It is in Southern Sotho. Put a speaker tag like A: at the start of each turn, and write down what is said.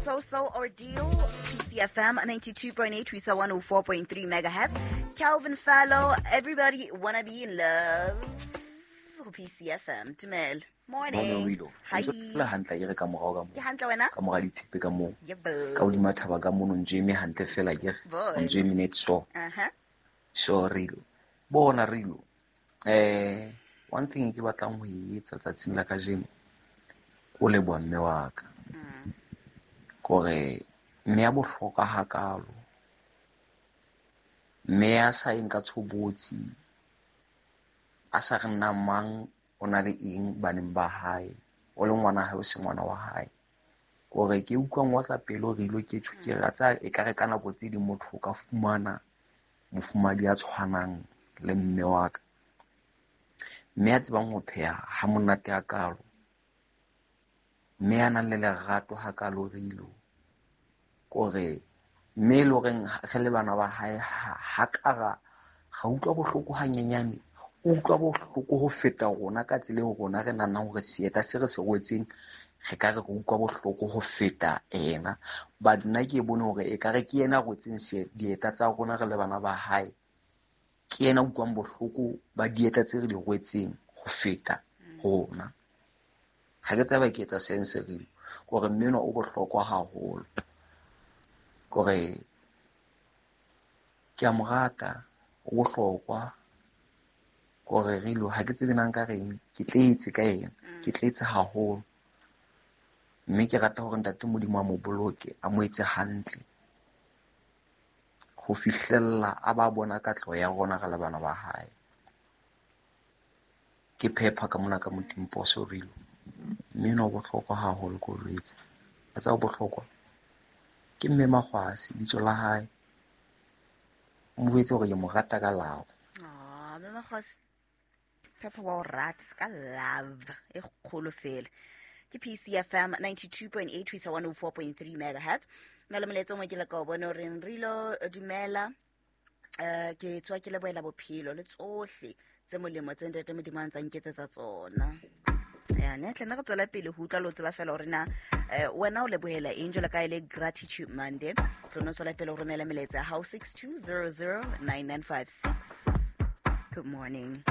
A: So So Ordeal, PCFM 92.8 ho isa 104.3 megahertz. Calvin Fallow, Everybody Wanna Be in Love, ho PCFM. Dumela. Morning.
B: Morning.
A: Hi.
B: Ntse le hantle ke re ka morao ka
A: Ke
B: moo.
A: hantle wena?
B: Ka mora ditshepe ka moo.
A: Yebo.
B: Ka hodima thaba ka mono ntse eme hantle fela ke re.
A: Boy.
B: O ntse eme net so.
A: Aha.
B: So Rilo. Bona Rilo. One thing ke batlang ho e etsa tsatsing la kajeno ke ho leboha mme wa ka. Kore mme ya bohlokwa hakalo. Mme ya sa yeng ka tshobotsi, a sa re nna mang o na le eng baneng ba hae, o le ngwana hae o se ngwana wa hae. Kore ke utlwa ngotla pelo Rilo ke tjho ke re a tseba ekare ka nako tse ding motho o ka fumana mofumahadi ya tshwanang le mme wa ka. Mme ya tsebang ho pheha ha monate hakalo. Mme ya nang le lerato hakalo Rilo. Kore mme e le horeng re le bana ba hae ha ka ra utlwa bohloko hanyenyane, o utlwa bohloko ho feta rona ka tsela eo rona re nahanang hore seeta se re se rwetseng re ka re re utlwa bohloko ho feta ena. But nna ke bone hore ekare ke yena a rwetseng dieta tsa rona re le bana ba hae. Ke yena a utlwang bohloko ba dieta tse re di rwetseng ho feta rona. Ha ke tsebe ke etsa sense Rilo. Kore mme enwa o bohlokwa haholo. Kore ke a mo rata, o bohlokwa. Kore Rilo ha ke tsebe na nka reng, ke tletse ka yena, ke tletse haholo. Mme ke rata hore ntate Modimo a mo boloke, a mo etse hantle ho fihlella a ba bona katleho ya rona re le bana ba hae. Ke phepha ka mona ka Motimposo Rilo. Mme enwa o bohlokwa haholo ke o jwetse. A tseba o bohlokwa ke mme Makgwasi bitso la hae. O mo jwetse hore ke mo rata ka love.
A: Ah, mme Makgwasi. Phepha wa o rata ka love e kgolo fela. Ke PCFM 92.8 ho isa 104.3 megahertz. Na le molaetsa o mongwe ke le ka o bone o reng Rilo dumela. Ke tswa ke lebohela bophelo le tsohle tse molemo tse ntate Modimo a ntsa nketsetsa tsona. Ya, ne tle nna re tswela pele ho utlwa le ho tseba fela hore na wena o lebohela eng jwalo ka e le Gratitude Monday. Tlo no tswela pele ho romela melaetsa ya hao 62009956. Good morning.